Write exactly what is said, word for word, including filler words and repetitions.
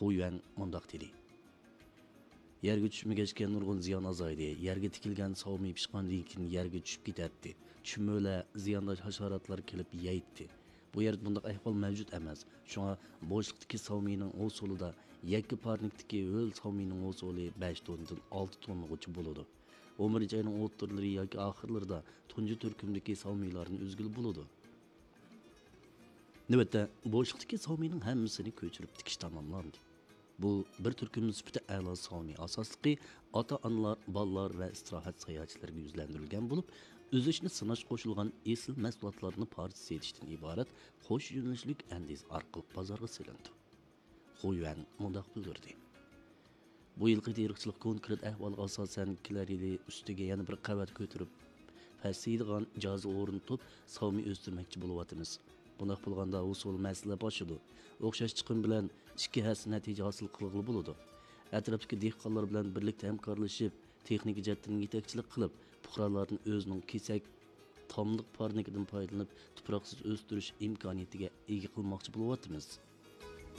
خۇ يۈەن مۇنداق دېدى: يەرگە چۈشمىگەچكە نۇرغۇن زىيان ئازايدى. يەرگە تىكىلگەن ساۋمى پىشقاندىن كېيىن يەرگە چۈشۈپ كېتەتتى. چۈمۈلە، زىيانداش ھاشاراتلار كېلىپ يەيتتى. بۇ يەردە بۇنداق ئەھۋال مەۋجۇت ئەمەس. شۇڭا بوشلۇقتىكى ساۋمىنىڭ ھوسۇلىدا يەككە پارنىكتىكى ھۆل ساۋمىنىڭ ھوسۇلى بەش توننىدىن ئالتە توننىغىچە بولىدۇ. ئون بىرىنچى ئاينىڭ ئوتتۇرىلىرى ياكى ئاخىرلىرىدا تۇنجى تۈركۈمدىكى ساۋمىلاردىن ئۈزگىلى بولىدۇ. نۆۋەتتە بوشلۇقتىكى ساۋمىنىڭ ھەممىسىنى كۆچۈرۈپ تىكىش تاماملاندى. بۇ بىر تۈركۈم سۈپىتى ئەلا ساۋمى ئاساسلىقى ئاتا-ئانىلار، بالىلار ۋە ئىستىراھەت ساياھەتچىلىرىگە يۈزلەندۈرۈلگەن بولۇپ، ئۈزۈشنى سىناش قوشۇلغان ئېسىل مەھسۇلاتلارنى پارچە سېتىشتىن ئىبارەت قوش يۆنىلىشلىك ئەندىزە ئارقىلىق بازارغا سېلىنىدۇ. خۇ يۈەن مۇنداق بىلدۈردى: بۇ يىلقى تېرىقچىلىق كونكرېت ئەھۋالىغا ئاساسەن، كېلەر يىلى ئۈستىگە يەنە بىر قەۋەت كۆتۈرۈپ، پەسىيىدىغان جازا ئورنىتىپ، ساۋمى ئۆستۈرمەكچى بولۇۋاتىمىز. بۇنداق بولغاندا، ھوسۇل مەسىلە باشىدۇ. ئوخشاش چىقىم بىلەن ئىككى ھەسسە نەتىجە ھاسىل قىلغىلى بولىدۇ. ئەتراپتىكى دېھقانلار بىلەن بىرلىكتە ھەمكارلىشىپ، تېخنىكا جەھەتتىن يېتەكچىلىك قىلىپ، پۇقرالارنى ئۆزىنىڭ كېسەك تاملىق پارنىكىدىن پايدىلىنىپ، تۇپراقسىز ئۆستۈرۈش ئىمكانىيىتىگە ئىگە قىلماقچى بولۇۋاتىمىز.